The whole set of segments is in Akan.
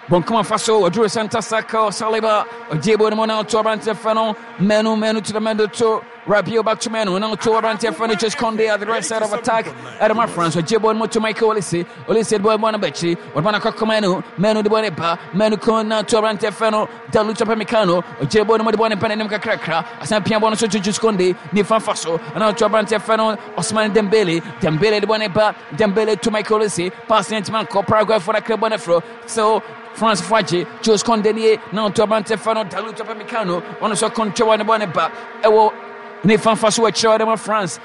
Bonkuma fa so ɔduru center circle. Saliba ɔgye bɔ no mu na ɔto aberanteɛ fɛ no Mainoo. Mainoo to the middle to Rabiot, back to Mainoo. Now to aberanteɛ fɛ no Jules Kounde at the right side of attack. Ɛdema France ɔgye bɔ no mu to Michael Olise. Olise de bɔ no bɛkyi, ɔde bɔ no akɔkɔ Mainoo. Mainoo de bɔ ne ba Mainoo kon now to aberanteɛ fɛ no Dayot Upamecano. Ɔgye bɔ no mu de bɔ ne ba n'anim kakrakra, asan pia bɔ no so to Jules Kounde nifa fa so, ɛna to aberanteɛ fɛ no Ousmane Dembele. Dembele de bɔ ne ba Dembele to Michael Olise, pass ne ntoma nkɔ. Paraguay fo na kɛ bɔ ne foro so. France fo agye. Jules Kounde nie na ɔto aberanteɛ fɛ no Dayot Upamecano. Ɔno nso kɔntwɛ wɔ ne bɔ ne ba ɛwɔ ne fanfa so wɔakyerɛ ɔde ma France.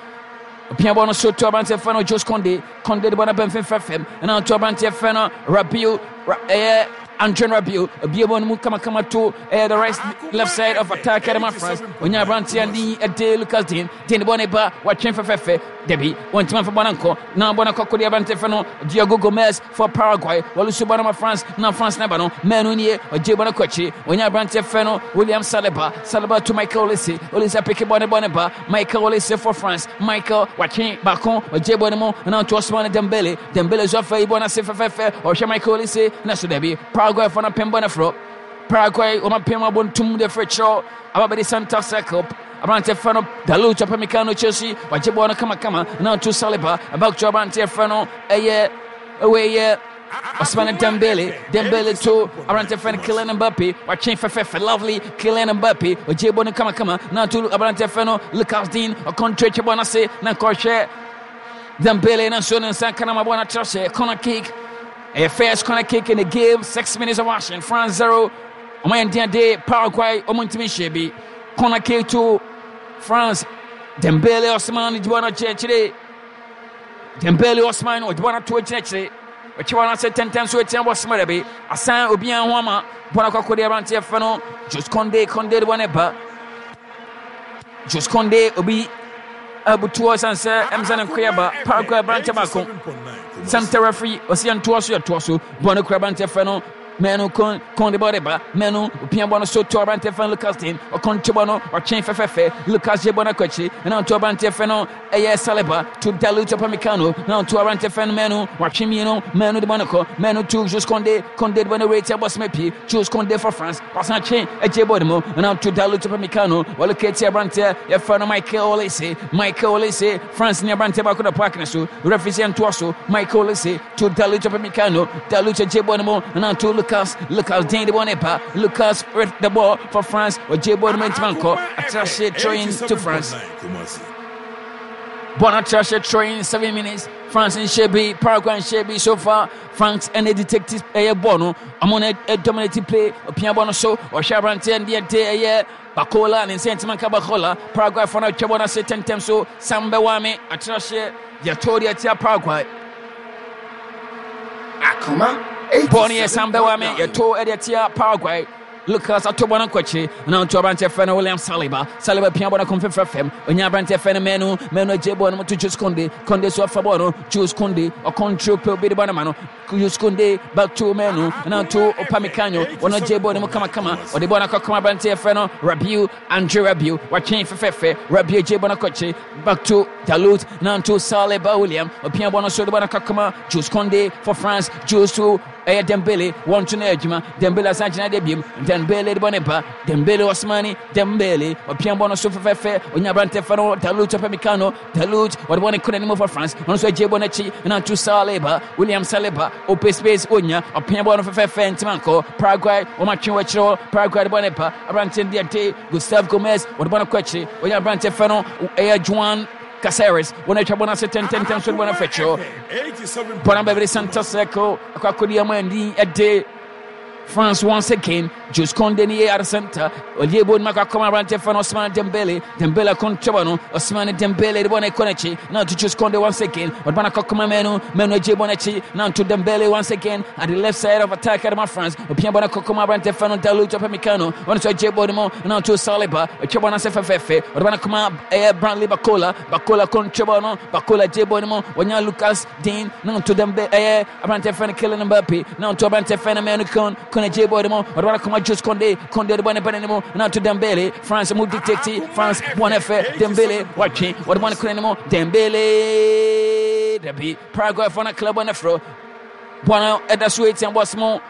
Ɔpia bɔ no so to aberanteɛ fɛ no Jules Kounde. Kounde de bɔ no bɛn fɛfɛ fam, ɛna ɔto aberanteɛ fɛ no Rabiot, ɛyɛ Andre Rabiot. Obie bɔ no mu kamakama to ɛyɛ the right left side of attack ɛde ma France. Onya aberanteɛ ne ɛde Lucas Digne. Digne de bɔ ne ba, watwe fɛfɛɛfɛ. Dabi, wɔntumi amfa bɔ no nkɔ na bɔ no kɔkɔ de aberanteɛ fɛ no Diego Gomez for Paraguay. Wɔlusu bɔ no ma France na France na ba no. Mainoo nie, ɔgye bɔ no kɔ akyiri, onya aberanteɛ fɛ no William Saliba. Saliba to Michael Olise. Olise apeke bɔ ne bɔ ne ba. Michael Olise for France. Michael watwe baako, ɔgye bɔ no mu na ɔto Ousmane Dembele. Dembele so afa yi bɔ no ase fɛfɛɛfɛ, ɔhwɛ Michael Olise na so. Dabi, Paraguay fo no pem bɔ no forɔ. Paraguay wɔn apem abɔ de firi kyerɛw aba bɛde center circle. Aberanteɛ fɛ no Dayot Upamecano, Chelsea, wagye bɔɔl no kamakama na ɔto Saliba, back to aberanteɛ fɛ no ɛyɛ ɛwɔ ɛyɛ Ousmane Dembele. Dembele to aberanteɛ fɛ no Kylian Mbappe, watwe fɛfɛɛfɛ, lovely. Kylian Mbappe ɔgye bɔɔl no kamakama na ɔto aberanteɛ fɛ no Lucas Digne. Ɔkɔntrɛ twɛ bɔɔl no ase na nkɔhwɛ Dembele na nso ne nsa kanama bɔɔl no akyerɛ hyɛ corner kick. Ɛyɛ first corner kick in the game. 6 minutes of action, France 0, ɔmo yɛ ndeɛ de Paraguay ɔmo ntumi nhyɛ bi. Corner kick to France. Dembele, Ousmane de bɔɔl no akyerɛkyerɛ. Dembele, Ousmane ɔde bɔɔl no ato akyerɛkyerɛ, ɔtwe bɔɔl no ase tɛntɛn so atia bɔ soma dɛbi asan obiara ho ama bɔɔl akɔkɔ de aberanteɛ fɛ no Jules Kounde. Kounde de bɔɔl no ba. Jules Kounde obi abutuo san sɛ ɛmsɛ ne nkoyɛ ba Paraguay aberanteɛ baako. Center referee ɔsi yɛn toɔ so, yɛ toɔ so. Bɔɔl no kura aberanteɛ fɛ no Mainoo. Kon de bɔɔl de ba. Mainoo opia bɔɔl no so to aberanteɛ fɛ no Lucas Digne. Ɔkɔnto bɔɔl no, ɔtwe fɛfɛɛfɛ. Lucas gye bɔɔl no akɔ akyiri ɛna ɔto aberanteɛ fɛ no ɛyɛ Saliba to Dayot Upamecano na ɔto aberanteɛ fɛ no Mainoo, watwe mmienu. Mainoo de bɔɔl no kɔ. Mainoo to Jules Kounde. Kounde de bɔɔl no rate ɛbɔ sɛmɛ pie. Jules Kounde for France wasan twe ɛgye bɔɔl no mu ɛna ɔto Dayot Upamecano. Wɔlocate aberanteɛ yɛfrɛ no Michael Olise. Michael Olise, France ne aberanteɛ baako da park no so. Referee sɛ ntoa so. Michael Olise to Dayot Upamecano. Dayot gye bɔɔl no mu ɛna to Lucas. Lucas Digne de bɔɔl no ba. Lucas with the ball for France, ɔgye bɔɔl no mu, ntoma nkɔ. Atrahye throwing to France. Bɔɔl no atrahye throwing. 7 minutes, France nhyɛ bi, Paraguay nhyɛ bi so far. France ɛna detect ɛyɛ bɔɔl no, ɔmo na dominate play. Ɔpia bɔɔl no so, ɔhwɛ aberanteɛ deɛ de ɛyɛ Barcola ne nsɛn ntoma nka Barcola. Paraguay fo no atwa bɔɔl no ase tɛntɛm so. Sambɛ Wame atrahye deɛ to deɛ tia Paraguay. Akoma. Bɔɔl no yɛ Sambɛ Wame yɛto ɛdeɛ tia Paraguay. Lucas ato bɔ no nkɔkye na ɔto aberanteɛ fɛ no William Saliba. Saliba pia bɔ no kɔm fɛfɛ fam, ɔnya aberanteɛ fɛ no Mainoo. Mainoo agye bɔ no mu to Jules Kounde. Kounde so afa bɔ no. Jules Kounde ɔcontrol pɛ obi de bɔ no ma no. Jules Kounde back to Mainoo na to Upamecano. Ɔno agye bɔ no mu kamakama, ɔde bɔ no akɔkɔm aberanteɛ fɛ no Rabiot, Andre Rabiot, watwe fɛfɛɛfɛ. Rabiot gye bɔ no akɔkye, back to Dayot na to Saliba William. Ɔpia bɔ no so de bɔ no akɔkɔma Jules Kounde for France. Jules to ɛyɛ Dembele, wɔn to no adwuma. Dembele asan gyina de biem. Dembele de bɔ ne ba. Dembele, Ousmane Dembele, ɔpia bɔ no so fɛfɛɛfɛ, onya aberante fɛ no Dayot Upamecano. Dayot wɔde bɔ ne kɔ n'anim for France. Ɔno nso agye bɔ n'akyi na to Saliba, William Saliba, open space onya, ɔpia bɔ no fɛfɛɛfɛ, ntoma nkɔ. Paraguay wɔn atwe wɔ akyire hɔ. Paraguay de bɔ ne ba aberante deɛ de Gustavo Gomez, wɔde bɔ no kɔ akyire, onya aberante fɛ no ɛyɛ Juan Caceres. Wɔn atwa bɔ no ase tɛntɛntɛn so de bɔ no fɛkyerɛ bɔ no bɛbɛde center circle akɔ akɔdi ama ani ɛde France once again. Jules Kounde ni at the center. Oye bo maka koma aberante fɛ no Ousmane Dembele. Dembele control no. Ousmane Dembele de bɔ ne kɔ n'akyi. Now to Jules Kounde once again. Ɔde bɔ koma Mainoo. Mainoo gye bɔ n'akyi. Now to Dembele once again at the left side of attack at France. Opia bɔ ne koma aberante fɛ no Dayot Upamecano. Ɔno nso gye bɔ ne mu. Now to Saliba. Ɔtwa bɔ n'ase fɛfɛɛfɛ. Ɔde bɔ ne koma ɛyɛ Bradley Barcola. Barcola control no. Barcola gye bɔ ne mu. Wɔnya Lucas Digne. Now to Dembele, ɛyɛ aberante fɛ no Kylian Mbappe. Now to aberante fɛ no Mainoo Kon. Kon gye bɔ ne mu. Ɔde bɔ ne koma Jules Kounde. Kounde de bɔ ne bɔ ne mu. Now to Dembele. France mu dictate. France bɔ ne fɛ. Dembele watwe. Ɔde bɔ ne kone ne mu. Dembele. Dabi. Paraguay fo na club ne fro. Bɔ no ɛda so etia bɔs mu.